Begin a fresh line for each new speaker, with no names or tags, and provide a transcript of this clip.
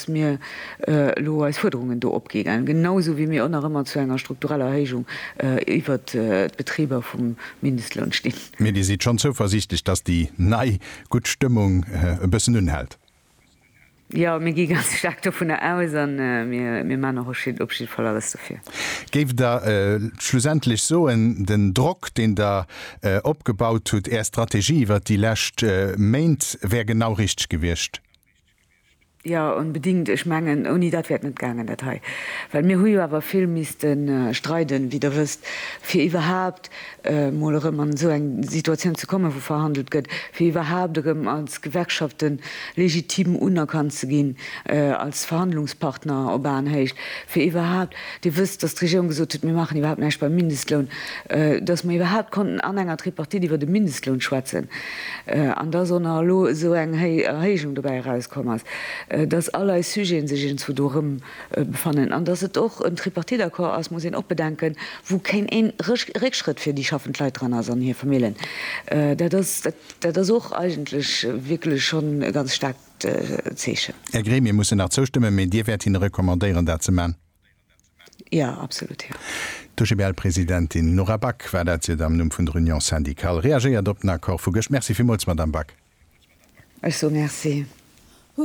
datt mir elo eis Fuerderungen do opginn, genau esou wéi mir och nach ëmmer zu enger struktureller Erhéijung iwwert d'Betriber vum Mindestloun stinn.
Mee Dir sidd schonn zouversiichtlech, datt déi nei gutt Stëmmung e bëssen unhält?
Jo, mir gi ganz staark dovunner aus a mir maachen och op jidde Fall alles dofir.
Géift Der schlussendlech soen, den Drock, deen Der opgebaut hutt, Är Strategie iwwert déi lescht Méint wär genau richteg gewiescht?
Jo, onbedingt. Ech mengen, ouni dat wär et net gaangen, dat hei. Well mir hu jo awer vill misste streiden, wéi Der wësst, fir iwwerhaapt mol erëm an esou eng Situatioun ze kommen, wou verhandelt gëtt, fir iwwerhaapt erëm als Gewerkschafte legitim unerkannt ze ginn als Verhandlungspartner op Aenhéicht, fir iwwerhaapt, Dir wësst, datt d'Regierung gesot huet, mir maachen iwwerhaapt näischt beim Mindestloun, datt mer iwwerhaapt konnten an enger Tripartite iwwer de Mindestloun schwätzen an datt och nach elo esou eng Erhéijung dobäi erauskomm ass, datt all eis Sujete sech iergendzwou do erëm befannen an datt et och en Tripartite-Accord ass, muss een och bedenken, wou keen een Réckschrëtt fir déi schaffend Leit dran ass an hir Famillen. Dat ass, dat ass och eigentlech wierklech schonn e ganz staarkt Zeechen.
Är Gremie mussen nach zoustëmmen, mee Dir wäert hinne recommandéieren, dat ze man?
Jo, absolut, jo.
D'OGBL-Presidentin Nora Back war dat. Si huet am Numm vun der Union syndicale reagéiert op den Accord vu gëscht. Merci villmools, Madamm Back.
Ech soe Merci.